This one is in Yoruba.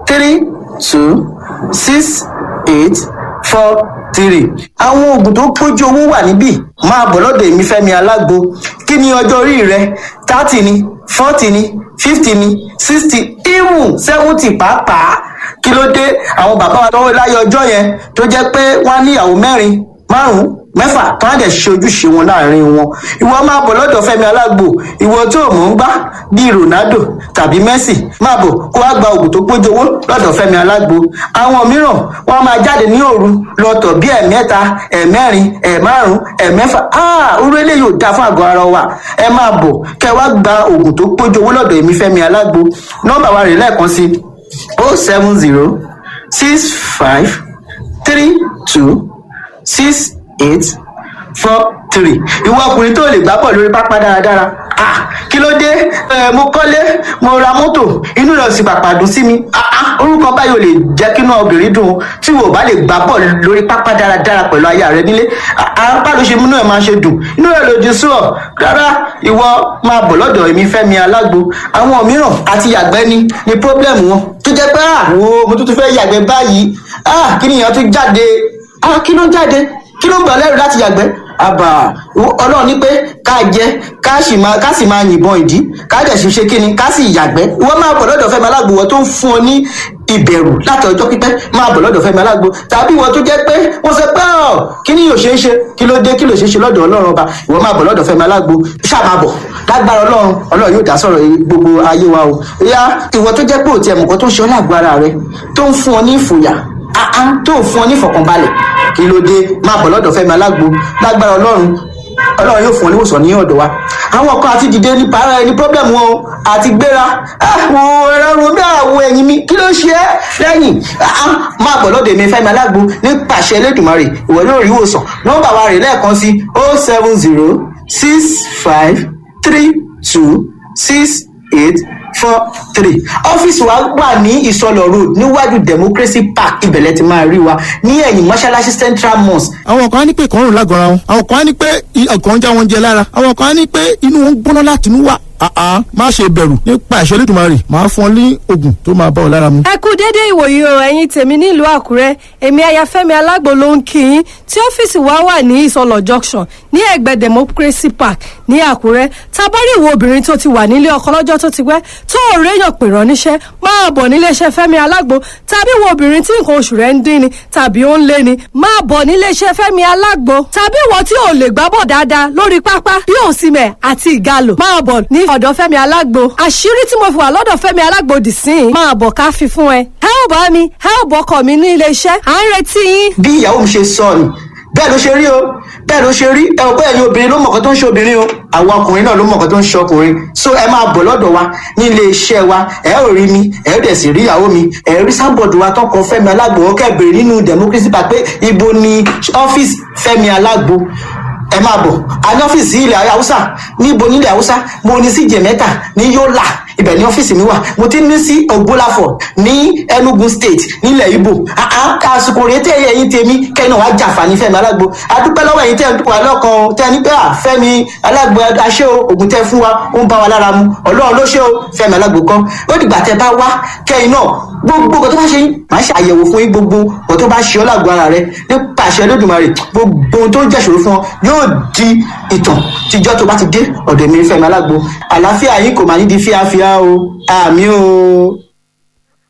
three two six eight four three. Àwọn oògùn tó pójú owó wà níbí. Máa bọ̀ lọ́dọ̀ èmi Fẹ́mi Alágbo. Kí ni ọjọ́ orí rẹ? 30 ni, 40 ni, 50 ni, 60, even 70 pàápàá. Kí ló dé? Àwọn bàbá wa tọwọ́ láyé ọjọ́ yẹn, tó jẹ́ pé wọ́n á níyàwó mẹ́rin, márùn-ún, mẹ́fà, tó á dẹ̀ ṣe ojúṣe wọn láàrin wọn. Ìwọ máa bọ̀ lọ́dọ̀ Fẹ́mi Alágbo. Ìwọ tó mọ̀ ń gbá bíi Ronaldo tàbí Messi, máa bọ̀ kó wá gba oògùn tó pójú owó lọ́dọ̀ Fẹ́mi Alágbo. Àwọn mìíràn wọ́n máa jáde ní òru lọ́tọ̀ bí ẹ̀mẹ́ta, ẹ̀mẹ́rin, ẹ̀márùn, ẹ̀mẹ́fà. Orú eléyìí ò dáa fún àgọ́ ara wa. Ẹ máa bọ̀ kẹ́ wá gba oògùn tó pójú owó lọ́dọ̀ èmi Fẹ́mi Alágbo. Nọ́mbà wa rè lẹ́ẹ̀kan sí: 07065326843. Ìwọ ọkùnrin tó lè gbá bọ̀ lórí pápá dáradára, kí ló dé? Mo kọ́lé, mo ra mọ́tò, inú rẹ̀ sì pàpà dùn sí mi. Orúkọ báyìí ò lè jẹ́ kí inú obìnrin dùn tí wò bá lè gbá bọ̀ lórí pápá dáradára pẹ̀lú aya rẹ nílé. Apá ló ṣe múnú ẹ̀ máa ṣe dùn, inú rẹ̀ lòdì sí ọ rárá. Ìwọ máa bọ̀ lọ́dọ̀ èmi Fẹ́mi Alágbo. Àwọn mìíràn àti yàgbẹ́ ni problem wọn, tó jẹ́ pé wo mo tún fẹ́ yàgbẹ́ báyìí, kí nìyẹn tún jáde? Kí ló ń jáde? Kí ló ń bà lẹ́rù láti yàgbẹ́? Àbà ọlọ́run ní pé ká jẹ, ká sì máa yìnbọn ìdí, ká dẹ̀ sì ṣe kíni, ká sì yàgbẹ́. Ìwọ máa bọ̀ lọ́dọ̀ Fẹ́mi Alágbo. Wọ́n tó ń fún ọ ní ìbẹ̀rù láti ọjọ́ pípẹ́, máa bọ̀ lọ́dọ̀ Fẹ́mi Alágbo. Tàbí ìwọ tó jẹ́ pé wọ́n sọ pé ọ̀ kí ni yóò ṣe é ṣe? Kí ló dé? Kí ló ṣe é ṣe lọ́dọ̀ ọlọ́run ọba? Ìwọ máa bọ̀ lọ́dọ̀ Fẹ́mi Alágbo, ṣáà máa bọ̀. Lágbára ọlọ́run, ọlọ́run yóò dá sọ̀rọ̀ gbogbo ayé wa o. Ìyá ìwọ tó jẹ́ pé òtí ẹ̀mùkọ́ tó ń ṣe ọ́ lágbo ara rẹ, tó ń fún ọ ní ìfòyà, tó ń fún ọ ní ìfọ̀kànbalẹ̀, kí ló dé? Máa bọ̀ lọ́dọ̀ Fẹ́mi Alágbo. Lágbára ọlọ́run, ọlọ́run yóò fún ọ níwòsàn ní ọ̀dọ̀ wa. Àwọn kan àti dìde ní para ẹni problem wọn o, àti gbéra àwọn ẹ̀rọ romi, àwọn ẹ̀yìn mi, kí ló ṣe é lẹ́yìn? Máa bọ̀ lọ́dọ̀ èmi Fẹ́mi Alágbo. Nípasẹ̀ Elédùmarè, ìwọ yóò rí ìwòsàn. Nọ́mbà wa rè lẹ́ẹ̀kan sí: 07065326843. Ọ́fíìsì wa wà ní Ìsọlọ̀ Road, níwájú Democracy Park. Ibẹ̀lẹ̀ ti máa rí wa ní ẹ̀yìn mọ́ṣáláṣí Central Mosque. Àwọn kan á ní pé ìkọrùn lágọ̀ọ́ra wọn, àwọn kan á ní pé ọkàn ń já wọn jẹ lára, àwọn kan á ní pé inú wọn ń gbóná láti inú wá. Má ṣe bẹ̀rù, nípa ìṣẹ́ Olódùmarè, máa fún ọ ní oògùn tó máa bá ọ lára mu. Ẹ kú dédé ìwòyí o, ẹ̀yin tèmi nílùú Àkúrẹ́. Èmi Ayafẹ́mi Alágbo ló ń kí yín, tí ọ́fíìsì wa wà ní Ìsọlọ̀ Junction, ní ẹ̀gbẹ́ Democracy Park ní Àkúrẹ́. Tábárí ìwọ obìnrin tó ti wà nílé ọkọ lọ́jọ́ tó ti pẹ́, tó ò réyàn pè rán níṣẹ́, máa bọ̀ níléeṣẹ́ Fẹ́mi Alágbo. Tàbí ìwọ obìnrin tí nǹkan oṣù rẹ̀ ń dín ni tàbí ó ń lé ni, máa bọ̀ níléeṣẹ́ Fẹ́mi Alágbo. Tàbí ìwọ tí ò lè gbábọ̀ dáadáa lórí pápá bí Òsìmẹ̀ àti Ìgalò, máa bọ̀ ní ọ̀dọ̀ Fẹ́mi Alágbo. Àṣírí tí mo fi wà lọ́dọ̀ Fẹ́mi Alágbo dì sí i, máa bọ̀ ká fi fún ẹ. Ẹ ò bá mi, ẹ ò bọ́kọ̀ mi ní iléeṣẹ́, à ń retí yín. Bí ìyàwó mi ṣe sọ ni, bẹ́ẹ̀ ló ṣe rí o, bẹ́ẹ̀ ló ṣe rí. Ẹ ò bẹ́ẹ̀ ni, obìnrin ló mọ̀kàn tó ń ṣe obìnrin o, àwọn ọkùnrin náà ló mọ̀kàn tó ń ṣe ọkùnrin. So ẹ máa bọ̀ lọ́dọ̀ wa ní ilé iṣẹ́ wa. Ẹ ò rí mi, ẹ ò dẹ̀ sì rí ìyàwó mi. Ẹ rí sábọ̀dù wa tọkọ Fẹ́mi Alágbo. Ó kẹ́ bèrè nínú Democracy Park pé ibo ni ọ́fíìsì Fẹ́mi Alágbo. Ẹ máa bọ̀. A ní ọ́fíìsì ilẹ̀ Haúsá. Níbo nílẹ̀ Haúsá? Mo ní sí Jẹ̀mẹ́ta ní Yólà, ibẹ̀ ní ọ́fíìsì mi wà. Mo ti ní sí Ògbólàfọ̀ ní Enugu State nílẹ̀ Ibo. Àsìkò rèé tẹ́ ẹ̀yin tèmi kẹ́yìn náà wá jàǹfààní Fẹ́mi Alágbo. Adúpẹ́ lọ́wọ́ ẹ̀yin tẹ́ ẹ̀ ń wà lọ́kàn tẹ́ ẹ ní pé à Fẹ́mi Alágbo aṣẹ́ o, ògùn tẹ́ fún wa ó ń bá wa lára mu. Ọlọ́run ló ṣe o, Fẹ́mi Alágbo kan. Ó dìgbà tẹ́ bá wá kẹ́yìn náà, gbogbo nǹkan tó bá ṣe yín, màá ṣe àyẹ̀wò fún yín. Gbogbo nǹkan tó bá ṣe ọ́ lágbo ara rẹ, nípa àṣẹ Olódùmarè, gbogbo ohun tó ń jẹ́ṣòro fún ọ yóò di ìtàn tíjọ́ tó bá ti dé ọ̀dọ̀ mi Fẹ́mi Alágbo. Àlàáfíà yín kò máa ní di fíafíà o. Àmì o.